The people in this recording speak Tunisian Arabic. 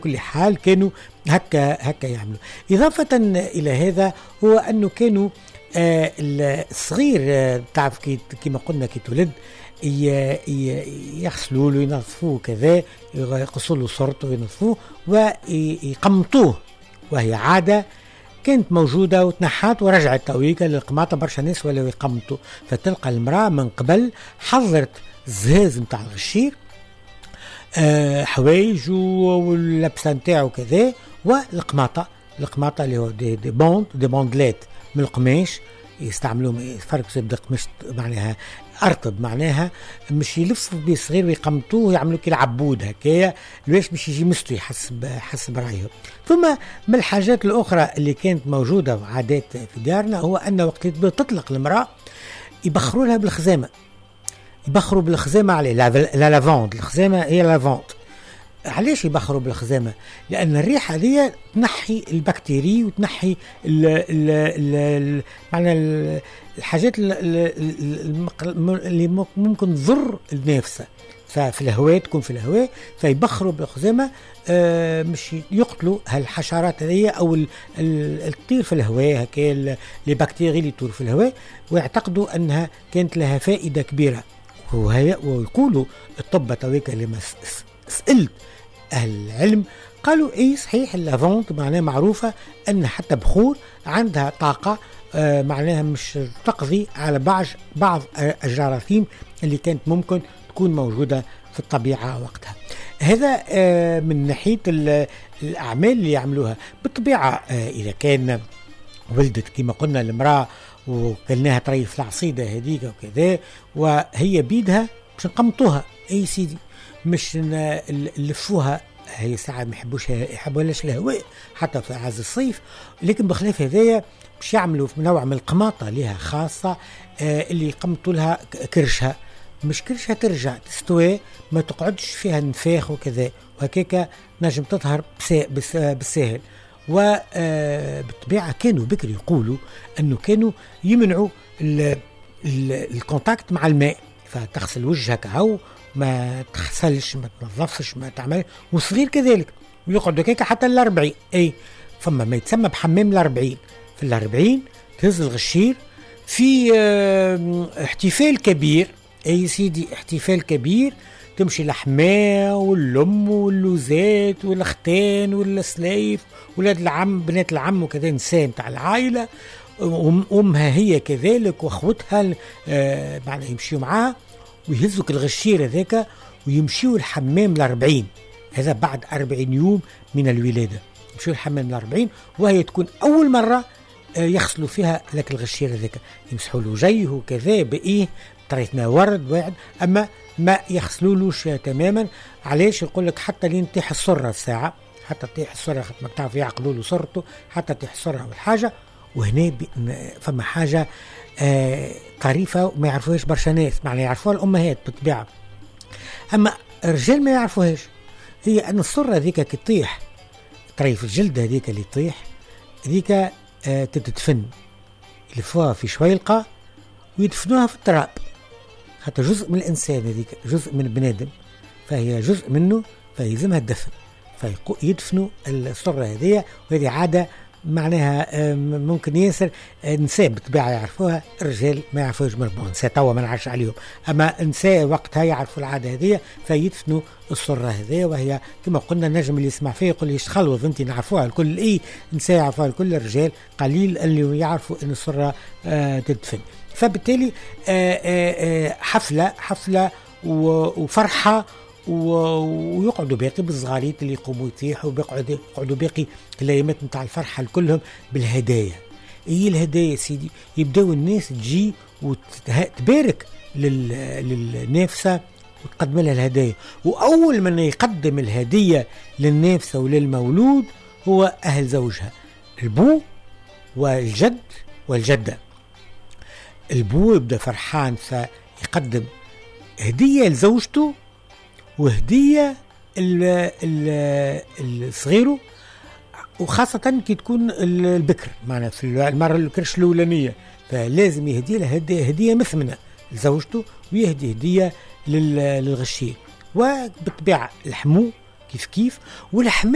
كل حال كانوا هكا هكا يعملوا. إضافة إلى هذا هو أنه كانوا الصغير، تعرف كما قلنا كي تولد يغسلوا له، ينظفوه كذا، يقصوا له صورته وينظفوه ويقمطوه، وهي عادة كانت موجودة وتنحات ورجعت تويكا للقماطة، برشا ناس ولاو يقمطوا. فتلقى المرأة من قبل حضرت الزهاز نتاع الغشير، حوايج واللبسة نتاعو كذا، والقماطة، القماطة اللي هو des bandes، des bandelettes من القماش يستعملوهم، يفركسوا يبدا قماش معناها ارطب، معناها مش يلفوا بيه صغير ويقمطوه ويعملوا كي العبود هكايا، لواش باش يجي مستوي حسب رايه. ثم من الحاجات الاخرى اللي كانت موجودة وعادات في دارنا هو ان وقت اللي تطلق المراة يبخروا لها بالخزامه، يبخروا بالخزامه عليه la lavande، الخزامه هي lavande. علاش يبخروا بالخزامه؟ لان الريحة هذه تنحي البكتيري وتنحي ال ال ال معنى الحاجات اللي ممكن تضر النافسه، ففي الهواء تكون في الهواء، فيبخروا بالخزامه مش يقتلوا هالحشرات هذه او الطير في الهواء هكا، les bactéries اللي تطير في الهواء، ويعتقدوا انها كانت لها فائدة كبيرة. ويقولوا الطب تويكا لما سالت اهل العلم قالوا اي صحيح ال lavande معناها معروفة ان حتى بخور عندها طاقة، معناها مش تقضي على بعض الجراثيم اللي كانت ممكن تكون موجودة في الطبيعة وقتها. هذا من ناحية الاعمال اللي يعملوها. بالطبيعة اذا كان ولدت كما قلنا المراة وكلناها طريف العصيده هذيك وكذا، وهي بيدها باش نقمطوها، اي سيدي مش نلفوها، هي ساعة ما يحبوش، يحبوهاش الهواء حتى في عز الصيف، لكن بخلاف هذايا باش يعملوا نوع من القماطة لها خاصة، اللي يقمطوا لها كرشها، مش كرشها ترجع تستوي، ما تقعدش فيها نفاخ وكذا، وهكاك نجم تظهر بالساهل. وبالطبيعة كانوا بكري يقولوا أنه كانوا يمنعوا ال contact مع الماء، فتغسل وجهك هاو ما تغسلش ما تنظفش ما تعمل، وصغير كذلك ويقعدوا هكاك حتى الأربعين. أي فما ما يتسمى بحمام الأربعين، في الأربعين تهز الغشير في احتفال كبير، أي سيدي احتفال كبير، تمشي الحماة والأم واللوزات والختان والسلايف ولاد العم بنات العم وكذا، نساء نتاع العائلة، أمها هي كذلك وأخوتها، معناها يمشيوا معاها ويهزوك الغشير هذاك ويمشيوا الحمام الأربعين. هذا بعد 40 يوم من الولادة يمشيوا الحمام الأربعين، وهي تكون أول مرة يغسلوا فيها لك الغشير هذاك، يمسحوا له وجهه وكذا بإيه طريقنا ورد واحد، أما ما يغسلولوش تماما. علاش؟ يقول لك حتى لين تطيح السرة الساعة، حتى تطيح السرة، خاطر ما تعرف يعقلوا له سرته حتى تطيح السرة والحاجة. وهنا فما حاجة طريفة وما يعرفوهاش برشا ناس، معناها يعرفوها الأمهات بالطبيعة، أما الرجال ما يعرفوهاش، هي أن السرة هذيك كي تطيح طريف الجلد هذيك اللي تطيح هذيك تتدفن، يلفوها في شويلقة ويدفنوها في التراب، حتى جزء من الإنسان هذيك جزء من بنادم، فهي جزء منه فيلزمها الدفن، فيدفنوا السرة هذية. وهذه عادة معناها ممكن ياسر نساء بالطبيعة يعرفوها، الرجال ما يعرفوهاش، نساء توا ما نعرفش عليهم، أما نساء وقتها يعرفوا العادة هذية فيدفنوا السرة هذية. وهي كما قلنا النجم اللي يسمع فيه يقول لي خلوض انت نعرفوها الكل، اي نساء يعرفوها الكل، الرجال قليل اللي يعرفوا ان السرة تدفن. فبالتالي حفلة وفرحة، ويقعدوا باقي بالصغاريت اللي يقوموا يطيحوا، ويقعدوا باقي الايامات نتاع الفرحة كلهم بالهدايا. اي الهدايا سيدي؟ يبداو الناس تجي وتبارك للنافسه وتقدم لها الهدايا، واول من يقدم الهدية للنافسه وللمولود هو اهل زوجها، البو والجد والجدة. البو يبدا فرحان فيقدم هديه لزوجته وهدية الصغيرة، وخاصة كي تكون البكر معنا في المرة الكرش الأولانية، فلازم يهدي لها هدية مثمنة لزوجته ويهدي هدية للغشير. وبالطبيعة الحمو كيف كيف، والحماء.